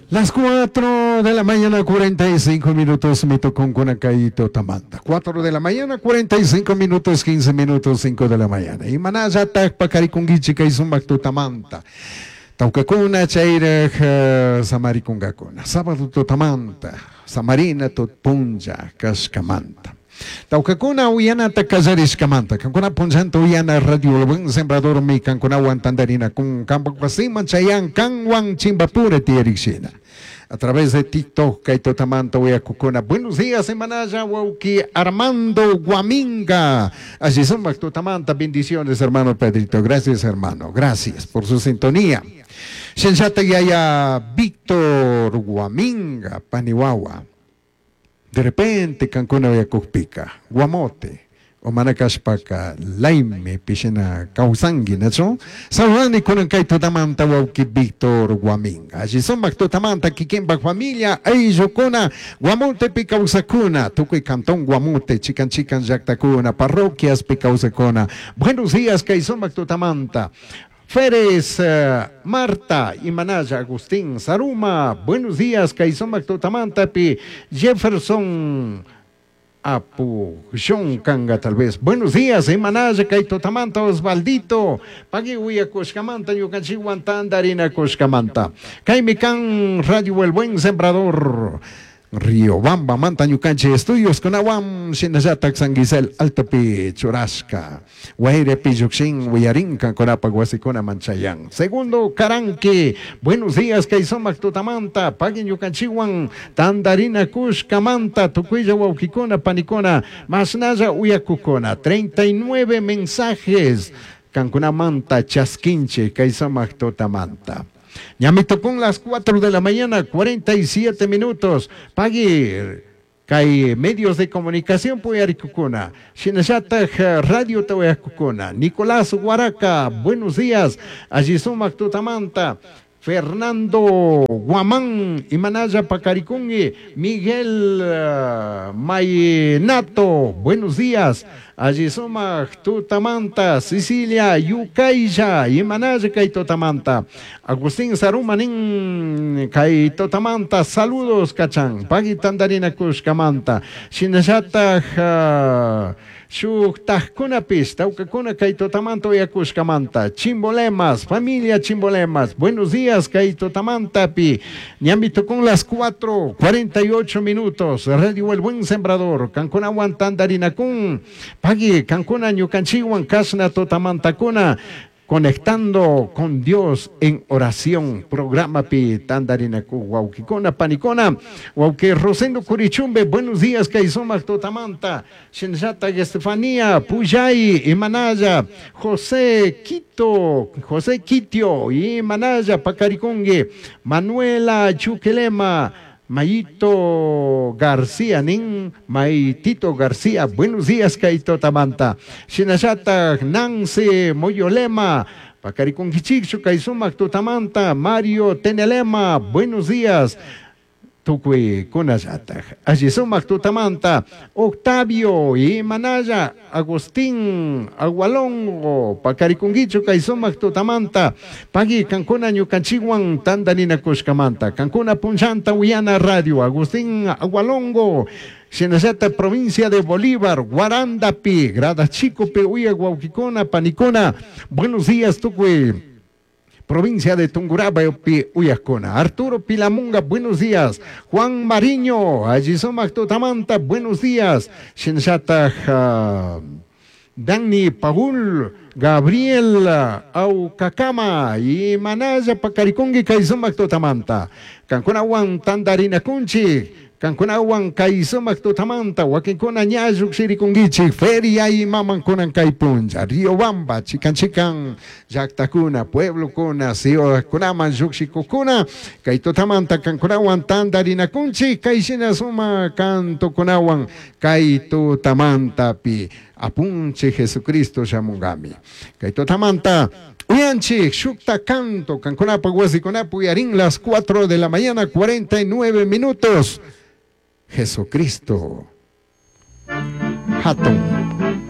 Las 4 de la mañana, 45 minutos, me tocó con Tamanta. 4 de la mañana, 45 minutos, 15 minutos, 5 de la mañana. Y manallataj pacarikunguichi kay sumak tutamanta. Tawkakuna chayraj samarikungakuna. Sábado tutamanta, samarina tutpunlla kashkamanta. Tawkakuna uyanata kallarishkamanta. Kankuna punllanta uyana radio El Buen Sembrador mi kankunawan tandarina kun kampak wasiman chayan kanwan chimbapura tiyarikshina. A través de TikTok, kay tutamanta uyakukuna. Buenos días, semanaya, wauki Armando Guaminga. Allí sumak tutamanta, bendiciones, hermano Pedrito. Gracias, hermano. Gracias por su sintonía. Shenshata yaya Víctor Guaminga, Paniwawa. De repente, kankuna uyakukpika, Guamote, o manakashpaka, Laime, pishina kawsanki, nachu? Saludani kunan kay tutamanta wawki Víctor Guaminga. Alli sumak tutamanta kikinpak familia, ayllukuna, Guamotepi kawsakuna, tukuy cantón Guamote, chikan chikan llaktakuna, parroquiaspi kawsakuna. Buenos días, kay sumak tutamanta. Férez, Marta, Imanaya, Agustín, Saruma, buenos días, kay sumak tutamantapi, Jefferson Apu, John Kanga tal vez. Buenos días, Imanaya, kay tutamanta, Osvaldito, Pagui uyakushkamanta, ñukanchikwan tandarina kushkamanta. Kaymi kan Radio El Buen Sembrador. Riobamba, manta ñukanchik estudios kunawam shinallatak San Gisel Altopi churashka. Wayrepi llukshin wiyarinka kunapak wasikuna manchayan. Segundo Karanki, buenos días kay sumak tutamanta, pagui ñukanchikwan tandarina kushkamanta, tukuylla wawkikuna panikuna, mashnalla uyakukuna. 39 mensajes kankunamanta chaskinchik kay sumak tutamanta. Ya me tocó las 4 de la mañana, 47 minutos. Pagui, kay medios de comunicación puyarikukuna. Shinallataj radio tawayakukuna. Nicolás Guaraca, buenos días. Allí sumak tutamanta. Fernando Guamán, Imanaya Pacaricungui, Miguel Mainato, buenos días. Allí sumak tutamanta, Cecilia Yucaya, Imanaya kay tutamanta. Agustín Sarumanin kay tutamanta, saludos kachan. Pagui tandarina kushkamanta. Shinallataj shuktajkunapis, tawkakuna kay tutamanta uyakushkamanta. Chimbolemas, familia Chimbolemas, buenos días kay tutamantapi. Ñami tocó las 4:48 minutos. Radio El Buen Sembrador, kankunawan tandarinakun. Pagui, kankuna ñukanchikwan kashna tutamantakuna. Conectando con Dios en oración, programa pi tandarinaku, wawkikuna, panikuna, wawki Rosendo Curichumbe, buenos días, kay sumak tutamanta, Shinshata Estefanía, Puyay, Imanaya, José Quito, José Quitio, Imanaya, Pacaricongue, Manuela Chuquelema, Mayito García, nin Maitito García, buenos días, kay tutamanta. Shinashata Nancy Moyolema, Pacariconquichichu, kay sumak tutamanta, Mario Tenelema, buenos días. Tukuy kunallataj. Allí sumak tutamanta, Octavio Imanaya, Agustín Agualongo, Pacarikunguichu, kay sumak tutamanta, Pagui kankuna ñukanchikwan tandarina kushkamanta, kankuna punchanta uyana radio, Agustín Agualongo, Shinallata provincia de Bolívar, Guarandapi, Grada Chicope, uya wawkikuna, panikuna, buenos días, tukuy. Provincia de Tungurahua, Uyacona. Arturo Pilamunga, buenos días. Juan Mariño, allí sumak tutamanta, buenos días. Shinshata, Dani Paul, Gabriel Aucacama y Manaya Pacaricongi, kay sumak tutamanta. Kankunawan tandarina kunchi. Kankunawan kay sumak tutamanta, wakinkuna ña lluqshirikunkichik, feria y mamankunan kay punlla, Riobamba, chikan chikan llaqtakuna, pueblokuna, ciudadkunaman lluqshikukuna, kay tutamanta kankunawan tandarinakunchik, kay shina suma kantukunawan kay tutamantapi apunchik Jesucristo shamunkami. Kay tutamanta uyanchik shukta canto, kankunapa wasikunapi uyarin las 4 de la mañana, 49 minutos. Jesucristo. Hatun.